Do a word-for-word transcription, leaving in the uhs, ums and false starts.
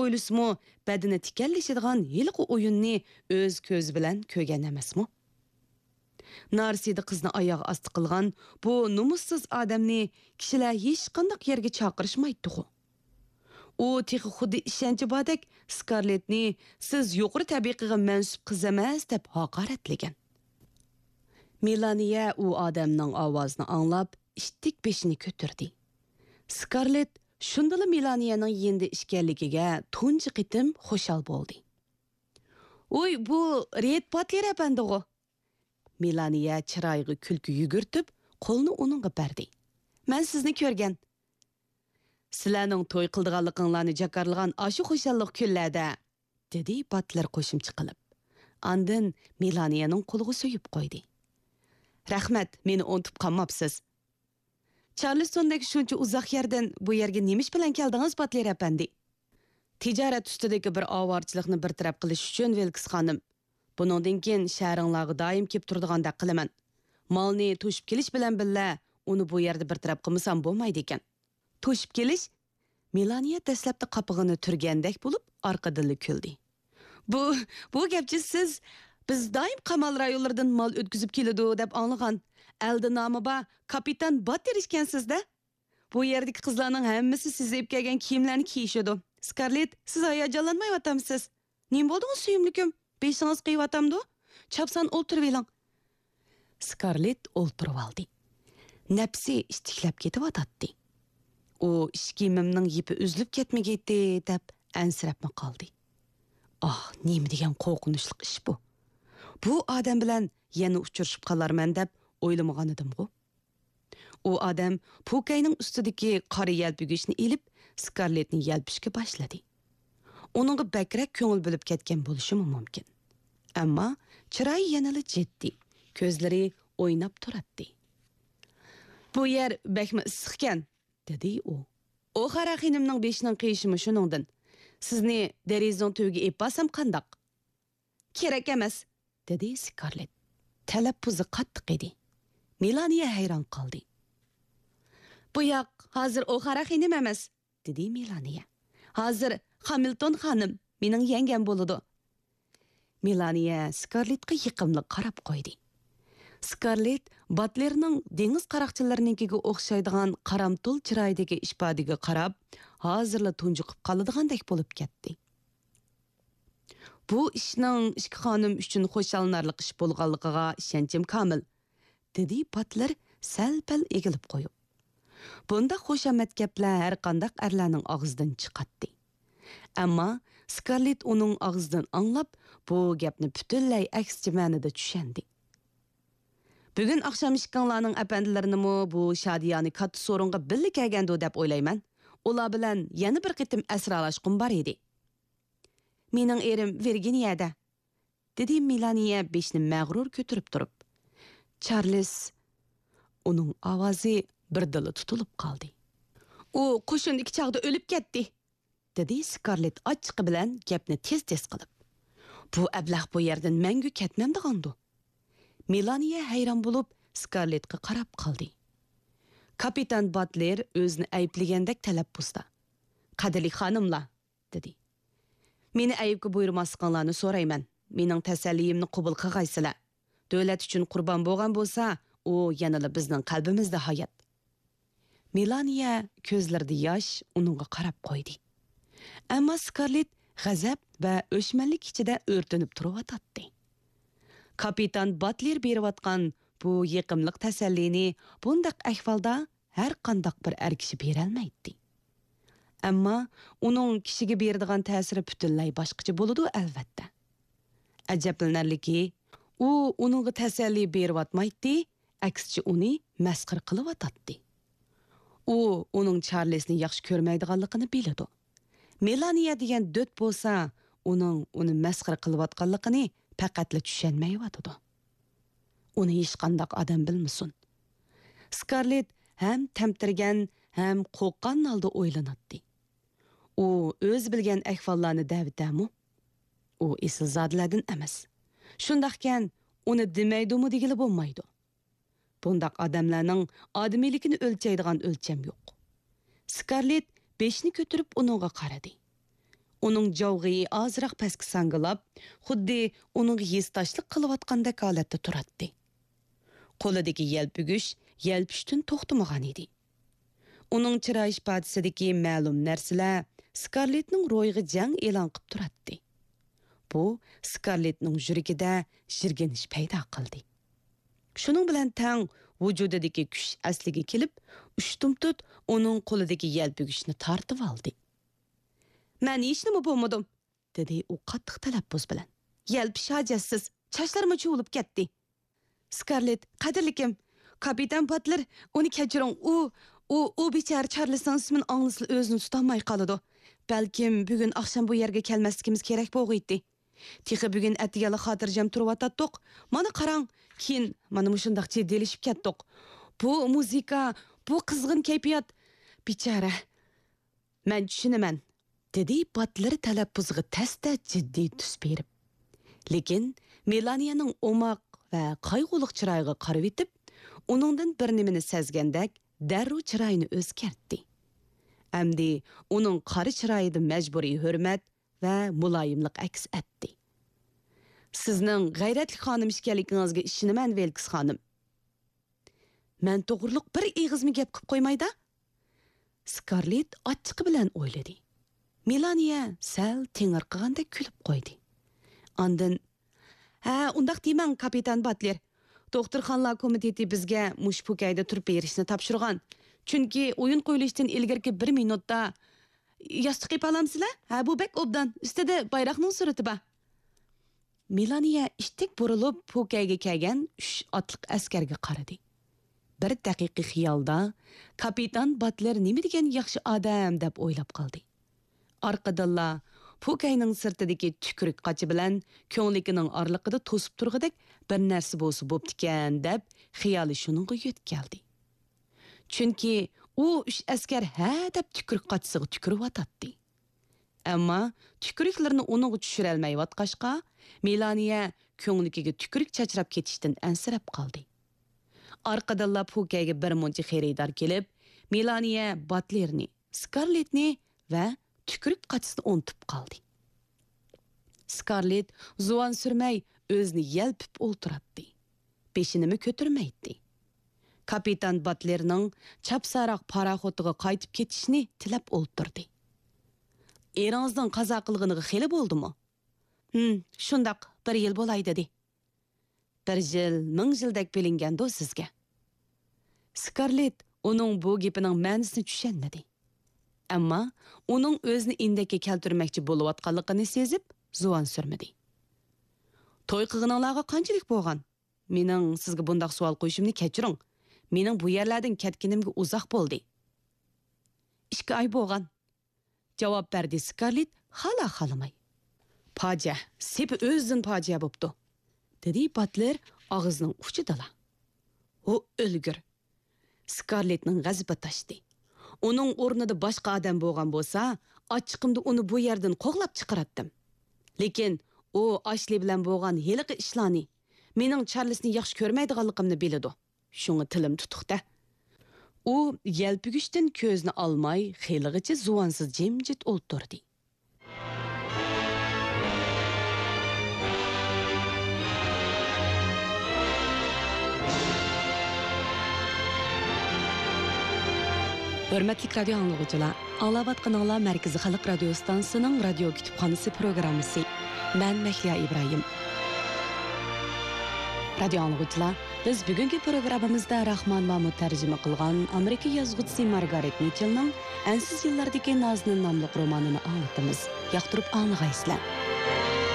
ئويلىسىمۇ، بەدىنى تىكەنلىشىدىغان ھېلىقى ئويۇننى ئۆز كۆزى بىلەن كۆرگەن ئەمەسمۇ؟ نارسىدە قىزنى ئاياغ ئاستى قىلغان بۇ نومۇسسىز ئادەمنى كىشىلەر ھېچقانداق يەرگە چاقىرىشمايتتىغۇ؟ ئۇ تېخى خۇددى ئىشەنچى باردەك سكارلېتنى «سىز يۇقىرى تەبىقىگە مەنسۇپ قىز ئەمەس» دەپ ھاقارەتلىگەن. مېلانىيە ئۇ ئادەمنىڭ ئاۋازىنى ئاڭلاپ، ئىتتىك بېشىنى كۆتۈردى. سكارلېت شۇندىلا مېلانىيەنىڭ يېنىدا ئىكەنلىكىگە تۇنجى قېتىم خۇشال بولدى. «ۋوي، بۇ رېيد باتلېر ئەپەندىغۇ!» مېلانىيە چىرايىغا كۈلكە يۈگۈرتۈپ، قولىنى ئۇنىڭغا بەردى. «مەن سىزنى كۆرگەن.» «سىلەرنىڭ توي قىلىدىغانلىقىڭلارنى جاكارلىغان ئاشۇ خۇشاللىق كۈنلەردە»، دېدى باتلېر قوشۇمچە قىلىپ. ئاندىن مېلانىيەنىڭ قولىغا سۆيۈپ قويدى. «رەھمەت، مېنى ئۇنتۇپ قالماپسىز.» «چارلىستوندەك شۇنچە ئۇزاق يەردىن بۇ يەرگە نېمە ئىش بىلەن كەلدىڭىز، باتلېر ئەپەندى؟» «تىجارەت ئۈستىدىكى بىر ئاۋارىچىلىكنى بىر تەرەپ قىلىش ئۈچۈن، ۋىلكس خانىم. بۇنىڭدىن كېيىن شەھىرىڭلارغا دائىم كېلىپ تۇرىدىغاندەك قىلىمەن. مالنى توشۇپ كېلىش بىلەن بىللە، ئۇنى بۇ يەردە بىر تەرەپ قىلمىسام بولمايدىكەن.» «توشۇپ كېلىش؟» مېلانىيە دەسلەپتە قاپىقىنى تۈرگەندەك بولۇپ، ئارقىدىنلا كۈلدى. «بۇ، بۇ گەپچە سىز، بىز دائىم قامال رايونلىرىدىن مال ئۆتكۈزۈپ كېلىدۇ دەپ ئاڭلىغان. ئەلدە نامى بار كاپىتان باتلېر ئىكەنسىز-دە؟ بۇ يەردىكى قىزلارنىڭ ھەممىسى سىز ئېلىپ كەلگەن كىيىملەرنى كىيىشىدۇ. سكارلېت، سىز ھاياجانلانمايۋاتامسىز؟ نېمە بولدىڭىز، سۆيۈملۈكۈم؟ بېشىڭىز قېيىۋاتامدۇ؟ چاپسان ئولتۇرۇۋېلىڭ.» سكارلېت ئولتۇرۇۋالدى. نەپسى ئىتتىكلەپ كېتىۋاتاتتى. ئۇ «ئىش كىيىمىمنىڭ يىپى ئۈزۈلۈپ كەتمىگەيتتى» دەپ ئەنسىرەپمۇ قالدى. ئاھ، نېمە دېگەن قورقۇنچلۇق ئىش بۇ! بۇ ئادەم بىلەن يەنە ئۇچرىشىپ قالارمەن دەپ ئويلىمىغانىدىمغۇ؟ ئۇ ئادەم پوكەينىڭ ئۈستىدىكى قارا يەلپۈگۈچنى ئېلىپ، سكارلېتنى يەلپۈشكە باشلىدى. ئۇنىڭغا بەكرەك كۆڭۈل بۆلۈپ كەتكەن بولۇشىمۇ مۇمكىن. ئەمما چىرايى يەنىلا جىددىي، كۆزلىرى ئويناپ تۇراتتى. «بۇ يەر بەكمۇ ئىسسىقكەن»، دېدى ئۇ. «ئوخارا خېنىمنىڭ بېشىنىڭ قېيىشىمۇ شۇنىڭدىن. سىزنى دېرىزىنىڭ تۈۋىگە ئېلىپ بارسام قانداق؟» «كېرەك ئەمەس.» دېدى سكارلېت. تەلەپپۇزى قاتتىق ئىدى. مېلانىيە ھەيران قالدى. «بۇ ياق ھازىر ئوخارا خېنىم ئەمەس»، دېدى مېلانىيە. «ھازىر خامىلتون خانىم، مېنىڭ يەڭگەم بولىدۇ.» مېلانىيە سكارلېتقا يېقىملىق قاراپ قويدى. سكارلېت باتلېرنىڭ دېڭىز قاراقچىلىرىنىڭكىگە ئوخشايدىغان قارامتۇل چىرايىدىكى ئىپادىگە قاراپ، ھازىرلا تۇنجۇقۇپ قالىدىغاندەك بولۇپ كەتتى. «بۇ ئىشنىڭ ئىككى خانىم ئۈچۈن خۇشاللىنارلىق ئىش بولغانلىقىغا ئىشەنچىم كامىل»، دېدى باتلېر سەل-پەل ئېگىلىپ قويۇپ. بۇنداق خۇشامەت گەپلەر ھەرقانداق ئەرلەرنىڭ ئاغزىدىن چىقاتتى. ئەمما سكارلېت ئۇنىڭ ئاغزىدىن ئاڭلاپ، بۇ گەپنى پۈتۈنلەي ئەكسىچە مەنىدە چۈشەندى. «بۈگۈن ئاخشام ئىككىڭلارنىڭ ئەپەندىلىرىنىمۇ بۇ شادىيانە كاتتا سورۇنغا بىللە كەلگەندۇ دەپ ئويلايمەن. ئۇلار بىلەن يەنە بىر قېتىم ئەسرالاشقۇم بار ئىدى.» «مېنىڭ ئېرىم ۋىرگىنىيەدە»، دېدى مېلانىيە بېشىنى مەغرۇر كۆتۈرۈپ تۇرۇپ. «چارلىز»، ئۇنىڭ ئاۋازى بىردىنلا تۇتۇلۇپ قالدى. «ئۇ قوشۇندىكى چاغدا ئۆلۈپ كەتتى»، دېدى سكارلېت ئاچچىقى بىلەن گەپنى تېز-تېز قىلىپ. «بۇ ئەبلەخ بۇ يەردىن مەڭگۈ كەتمەمدىغاندۇ؟» مېلانىيە ھەيران بولۇپ سكارلېتقا قاراپ قالدى. كاپىتان باتلېر ئۆزىنى ئەيىبلىگەندەك تەلەپپۇزدا: «قەدىرلىك خانىملار»، دېدى. «مېنى ئەيىبكە بۇيرۇماسلىقىڭلارنى سورايمەن. مېنىڭ تەسەللىيىمنى قوبۇل قىلغايسىلەر. دۆلەت ئۈچۈن قۇربان بولغان بولسا، ئۇ يەنىلا بىزنىڭ قەلبىمىزدە ھايات.» مېلانىيە كۆزلىرىدە ياش ئۇنىڭغا قاراپ قويدى. ئەمما سكارلېت غەزەپ ۋە ئۆچمەنلىك ئىچىدە ئۆرتىنىپ تۇرۇۋاتاتتى. كاپىتان باتلېر بېرىۋاتقان بۇ يېقىملىق تەسەللىنى بۇنداق ئەھۋالدا ھەر قانداق بىر ئەر كىشى بېرەلمەيتتى. ئەمما ئۇنىڭ كىشىگە بېرىدىغان تەسىرى پۈتۈنلەي باشقىچە بولىدۇ، ئەلۋەتتە. ئەجەبلىنەرلىكى، ئۇ ئۇنىڭغا تەسەللى بېرىۋاتمايتتى، ئەكسىچە ئۇنى مەسخىرە قىلىۋاتاتتى. ئۇ ئۇنىڭ چارلىزنى ياخشى كۆرمەيدىغانلىقىنى بىلىدۇ. مېلانىيە دېگەن دۆت بولسا، ئۇنىڭ ئۇنى مەسخىرە قىلىۋاتقانلىقىنى پەقەتلا چۈشەنمەيۋاتىدۇ. ئۇنى ھېچقانداق ئادەم بىلمىسۇن. سكارلېت ھەم تەمتىرىگەن، ھەم قورققان ھالدا ئويلىناتتى. ئۇ ئۆزى بىلگەن ئەھۋاللارنى دەۋېتەرمۇ؟ ئۇ ئېسىلزادىلەردىن ئەمەس. شۇنداقكەن، ئۇنى دېمەيدۇمۇ دېگىلى بولمايدۇ. بۇنداق ئادەملەرنىڭ ئادىمىيلىكىنى ئۆلچەيدىغان ئۆلچەم يوق. سكارلېت بېشىنى كۆتۈرۈپ ئۇنىڭغا قارىدى. ئۇنىڭ جاۋغىيى ئازراق پەسكە ساڭگىلاپ، خۇددى ئۇنىڭغا ھېسداشلىق قىلىۋاتقاندەك ھالەتتە تۇراتتى. قولىدىكى يەلپۈگۈچ يەلپۈشتىن توختىمىغان ئىدى. ئۇنىڭ چىراي ئىپادىسىدىكى مەلۇم نەرسىلەر سكارلېتنىڭ روھىغا جەڭ ئېلان قىپ تۇراتتى. بۇ سكارلېتنىڭ يۈرىكىدە يىرگىنىش پەيدا قىلدى. شۇنىڭ بىلەن تەڭ ۋۇجۇدىدىكى كۈچ ئەسلىگە كېلىپ، ئۇشتۇمتۇت ئۇنىڭ قولىدىكى يەلپۈگۈچنى تارتىۋالدى. «مەن ھېچنېمە بولمىدىم»، دېدى ئۇ قاتتىق تەلەپپۇز بىلەن. «يەلپۈش ھاجەتسىز، چاچلىرىمۇ چۇۋۇلۇپ كەتتى.» «سكارلېت، قەدىرلىكىم، كاپىتان باتلېر، ئۇنى كەچۈرۈڭ، ئۇ، ئۇ، ئۇ بىچارە چارلىسنىڭ ئىسمىنى ئاڭلىسىلا ئۆزىنى تۇتالماي قالىدۇ. بەلكىم بۈگۈن ئاخشام بۇ يەرگە كەلمەسلىكىمىز كېرەك بولغىيتتى. تېخى بۈگۈن ئەتىگەنلا خاتىرجەم تۇرۇۋاتاتتۇق. مانا قاراڭ، كېيىن مانا مۇشۇنداق جىددىيلىشىپ كەتتۇق. بۇ مۇزىكا، بۇ قىزغىن كەيپىيات. بىچارە.» «مەن چۈشىنىمەن»، دېدى باتلېر تەلەپپۇزىغا تەستە جىددىي تۈس بېرىپ. لېكىن مېلانىيەنىڭ ئوماق ۋە قايغۇلۇق چىرايىغا قارىۋېتىپ، ئۇنىڭدىن بىر نېمىنى سەزگەندەك، دەررۇ چىرايىنى ئۆزگەرتتى. ئەمدى ئۇنىڭ قارا چىرايىدا مەجبۇرىي ھۆرمەت ۋە مۇلايىملىق ئەكس ئەتتى. «سىزنىڭ غەيرەتلىك خانىم ئىكەنلىكىڭىزگە ئىشىنىمەن، ۋىلكس خانىم.» «مەن توغرۇلۇق بىر ئېغىزمۇ گەپ قىپ قويمايدا؟» سكارلېت ئاچچىقى بىلەن ئويلىدى. مېلانىيە سەل تېڭىرقىغاندەك كۈلۈپ قويدى. ئاندىن، «ھە، ئۇنداق دېمەڭ، كاپىتان باتلېر. دوختۇرخانىلار كومىتېتى بىزگە مۇشۇ پوكەيدە تۇرۇپ بېرىشنى تاپشۇرغان. چۈنكى ئويۇن قويۇلۇشتىن ئىلگىرىكى بىر مىنۇتتا، ياستۇق ئېپالامسىلەر؟ ھە، بۇ بەك ئوبدان. ئۈستىدە بايراقنىڭ سۈرىتى بار.» مېلانىيە ئىتتىك بۇرۇلۇپ، پوكەيگە كەلگەن ئۈچ ئاتلىق ئەسكەرگە قارىدى. بىر دەقىقە خىيالدا، كاپىتان باتلېر نېمە دېگەن ياخشى ئادەم دەپ ئويلاپ قالدى. ئارقىدىنلا پوكەينىڭ سىرتىدىكى تۈكرۈك قاچا بىلەن كۆڭلىكىنىڭ ئارىلىقىدا توسۇپ تۇرغۇدەك بىر نەرسە بولسا بوپتىكەن دەپ خىيالى شۇنىڭغا يۆتكەلدى. چۈنكى ئۇ ئۈچ ئەسكەر ھە دەپ تۈكرۈك قاچىسىغا تۈكۈرۈۋاتاتتى. ئەمما تۈكرۈكلىرىنى ئۇنىڭغا چۈشۈرەلمەيۋاتقاچقا، مېلانىيە كۆڭلىكىگە تۈكرۈك چاچراپ كېتىشتىن ئەنسىرەپ قالدى. ئارقىدىنلا پوكەيگە بىر مۇنچە خېرىدار كېلىپ، مېلانىيە باتلېرنى، سكارلېتنى ۋە تۈكرۈك قاچىسىنى ئۇنتۇپ قالدى. سكارلېت زۇۋان سۈرمەي ئۆزىنى يەلپۈپ ئولتۇراتتى. بېشىنىمۇ كۆتۈرمەيتتى. كاپىتان باتلېرنىڭ چاپساراق پاراخوتىغا قايتىپ كېتىشىنى تىلەپ ئولتۇردى. «ئېرىڭىزنىڭ قازا قىلغىنىغا خېلى بولدىمۇ؟» «ھىم، شۇنداق، بىر يىل بولاي» دېدى. «بىر يىل مىڭ يىلدەك بىلىنگەندۇ سىزگە؟» سكارلېت ئۇنىڭ بۇ گېپىنىڭ مەنىسىنى چۈشەنمىدى. ئەمما ئۇنىڭ ئۆزىنى ئىندەككە كەلتۈرمەكچى بولۇۋاتقانلىقىنى سېزىپ، زۇۋان سۈرمىدى. «توي قىلغىنىڭلارغا قانچىلىك بولغان؟ مېنىڭ سىزگە بۇنداق سوئال قويۇشۇمنى كەچۈرۈڭ. مېنىڭ بۇ يەرلەردىن كەتكىنىمگە ئۇزاق بولدى.» «ئىككى ئاي بولغان.» جاۋاب بەردى سكارلېت خالا-خالىماي. «پاجىئە، سېپى ئۆزىدىن پاجىئە بوپتۇ»، دېدى باتلېر ئاغزىنىڭ ئۇچىدىلا. «ھو، ئۆلگۈر!» سكارلېتنىڭ غەزىپى تاشتى. ئۇنىڭ ئورنىدا باشقا ئادەم بولغان بولسا، ئاچچىقىمدا ئۇنى بۇ يەردىن قوغلاپ چىقىراتتىم. لېكىن ئۇ ئاشلى بىلەن بولغان ھېلىقى ئىشلارنى، مېنىڭ چارلىسنى ياخشى كۆرمەيدىغانلىقىمنى بىلىدۇ. شۇڭا تىلىم تۇتۇق-دە. ئۇ يەلپۈگۈچتىن كۆزىنى ئالماي، خېلىغىچە زۇۋانسىز جىمجىت ئولتۇردى. ھۆرمەتلىك رادىيو ئاڭلىغۇچىلار، ئاڭلاۋاتقىنىڭلار مەركىزىي خەلق رادىيو ستانسىسىنىڭ رادىيو كۇتۇپخانىسى پروگراممىسى. مەن مەھلىيا ئىبراھىم. رادىيو ئاڭلىغۇچىلار، بىز بۈگۈنكى پروگراممىمىزدا راخمان مامۇت تەرجىمە قىلغان ئامېرىكا يازغۇچىسى مارگارېت مىچېلنىڭ ئەنسىز يىللاردىكى نازىنىن ناملىق رومانىنى ئاڭلىتىمىز. ياقتۇرۇپ ئاڭلىغايسىلەر.